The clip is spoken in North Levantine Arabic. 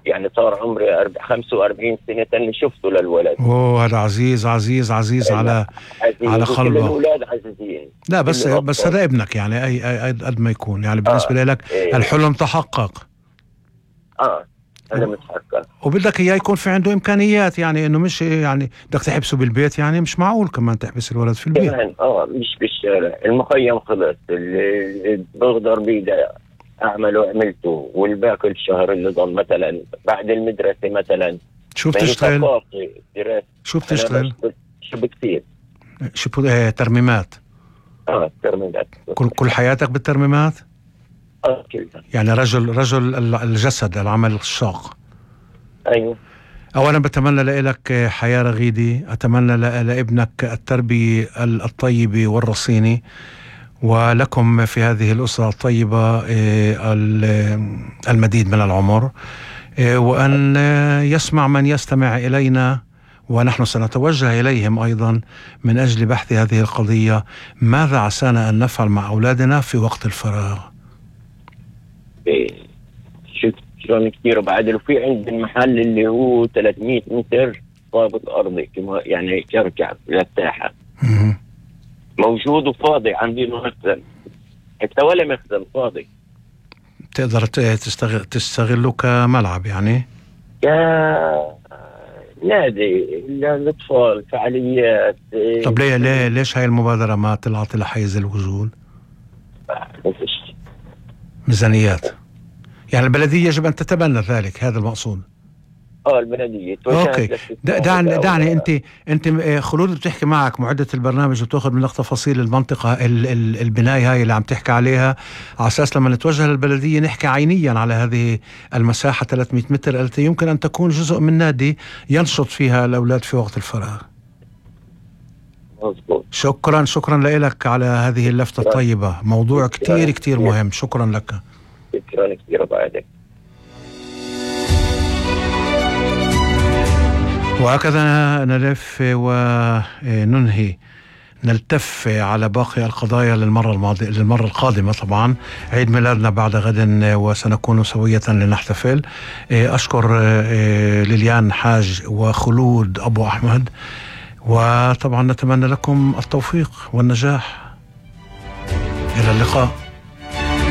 يعني صار عمري 45 سنة اللي شفته للولد. اوه هذا عزيز عزيز عزيز على قلبه. الأولاد عزيزين. لا بس هذا ابنك يعني أي قد ما يكون يعني بالنسبة لك الحلم تحقق. هذا متحقق. وبدك إياه يكون في عنده إمكانيات، يعني إنه مش يعني بدك تحبسه بالبيت، يعني مش معقول كمان تحبس الولد في البيت. مش بالشارع، المخيم خلص، اللي بقدر بيدي أعمله عملته، والباقي الشهر اللي ضل مثلا بعد المدرسة مثلا. شو بتشتغل؟ شو بتشتغل؟ شو بكتير؟ شو ترميمات؟ ترميمات. كل حياتك بالترميمات؟ كلها. يعني رجل الجسد، العمل الشاق. أيوه. أولا بتمنى لك حياة رغيدة، أتمنى لابنك التربية الطيبة والرصينة، ولكم في هذه الأسرة الطيبة المديد من العمر، وأن يسمع من يستمع إلينا، ونحن سنتوجه إليهم أيضا من أجل بحث هذه القضية. ماذا عسانا أن نفعل مع أولادنا في وقت الفراغ؟ شلون كتير بعد. وفي عند المحل اللي هو 300 متر ضابط أرضي يعني يرجع للساحة موجود وفاضي، عندي مخزن حتى ولا مخزن فاضي. تقدر تستغله كملعب يعني؟ نادي للأطفال، فعاليات. طب ليش هاي المبادرة ما طلعت لحيز الوصول؟ ميزانيات. يعني البلدية يجب أن تتبنى ذلك، هذا المقصود. البلدية. اوكي. دعني انت خلود بتحكي معك معدة البرنامج وتاخذ منك تفاصيل المنطقة البناية هاي اللي عم تحكي عليها، على اساس لما نتوجه للبلدية نحكي عينيا على هذه المساحة 300 متر التي يمكن ان تكون جزء من نادي ينشط فيها الاولاد في وقت الفراغ. مظبوط. شكرا لك على هذه اللفتة الطيبة، موضوع كتير مهم. شكرا لك. شكرا كثير بعدك. وهكذا نلف وننهي نلتف على باقي القضايا للمرة القادمة. طبعا عيد ميلادنا بعد غد وسنكون سوية لنحتفل. أشكر ليليان حاج وخلود أبو أحمد، وطبعا نتمنى لكم التوفيق والنجاح. إلى اللقاء.